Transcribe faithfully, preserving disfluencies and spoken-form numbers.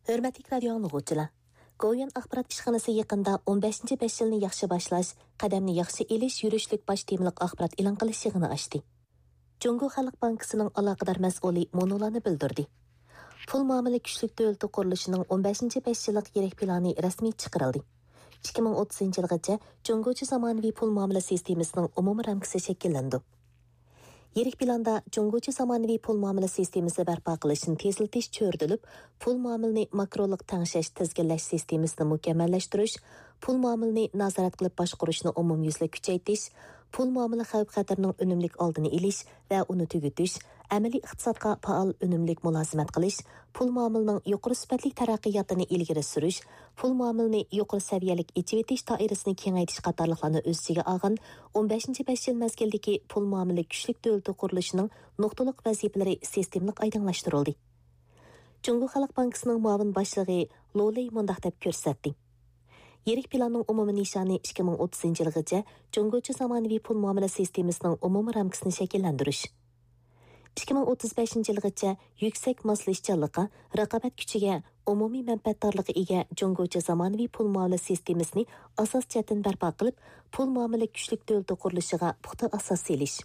ھۆرمەتلىك رادىيو ئاڭلىغۇچىلار! گوۋۇيۈەن ئاخبارات ئىشخانىسى يېقىندا ئون بەشىنچى بەش يىلنى ياخشى باشلاش، قەدەمنى ياخشى ئېلىش يۈرۈشلۈك باش تېمىلىق ئاخبارات ئېلان قىلىش يىغىنى ئاچتى. جۇڭگو خەلق بانكىسىنىڭ ئالاقىدار مەسئۇلى مۇنۇلارنى بىلدۈردى. پۇل مۇئامىلە كۈچلۈك دۆلىتى قۇرۇلۇشىنىڭ ئون بەشىنچى بەش يىللىق يىرىك پىلانى رەسمىي چىقىرىلدى. ئىككى مىڭ ئوتتۇزىنچى يىلغىچە جۇڭگوچە زامانىۋى پۇل مۇئامىلە سىستېمىسىنىڭ ئومۇمىي رامكىسى شەكىللىنىدۇ. يىرىك پىلاندا جۇڭگوچە زامانىۋى پۇل مۇئامىلە سىستېمىسى بەرپا قىلىشنى تېزلىتىش چۆرىدىلىپ، پۇل مۇئامىلىنى ماكرولۇق تەڭشەش، تىزگىنلەش سىستېمىسىنى مۇكەممەللەشتۈرۈش، پۇل مۇئامىلىنى نازارەت قىلىپ باشقۇرۇشنى ئومۇميۈزلۈك كۈچەيتىش، پۇل مۇئامىلە خەۋپ-خەتىرىنىڭ ئۈنۈملۈك ئالدىنى ئېلىش ۋە ئۇنى تۈگىتىش، ئەمەلىي ئىقتىسادقا پائال، ئۈنۈملۈك مۇلازىمەت قىلىش، پۇل مۇئامىلىنىڭ يۇقىرى سۈپەتلىك تەرەققىياتىنى ئىلگىرى سۈرۈش، پۇل مۇئامىلىنى يۇقىرى سەۋىيەلىك ئېچىۋېتىش دائىرىسىنى كېڭەيتىش قاتارلىقلارنى ئۆز ئىچىگە ئالغان ئون بەشىنچى بەش يىل مەزگىلدىكى پۇل مۇئامىلە كۈچلۈك دۆلىتى قۇرۇلۇشىنىڭ نۇقتىلىق ۋەزىپىلىرى سىستېمىلىق ئايدىڭلاشتۇرۇلدى. جۇڭگو خەلق بانكىسىنىڭ مۇئاۋىن باشلىقى لو لېي مۇنداق دەپ كۆرسەتتى: يىرىك پىلاننىڭ ئومۇمىي نىشانى ئىككى مىڭ ئوتتۇزىنچى يىلغىچە جۇڭگوچە زامانىۋى پۇل مۇئامىلە سىستېمىسىنىڭ ئومۇمىي رامكىسىنى شەكىللەندۈرۈش. ئىككى مىڭ ئوتتۇز بەشىنچى يىلغىچە يۈكسەك ماسلىشىشچانلىققا، رىقابەت كۈچىگە، ئومۇمىي مەنپەئەتدارلىقىغا ئىگە جۇڭگوچە زامانىۋى پۇل مۇئامىلە سىستېمىسىنى ئاساس جەھەتتىن بەرپا قىلىپ، پۇل مۇئامىلە كۈچلۈك دۆلىتى قۇرۇلۇشىغا پۇختا ئاساس سېلىش.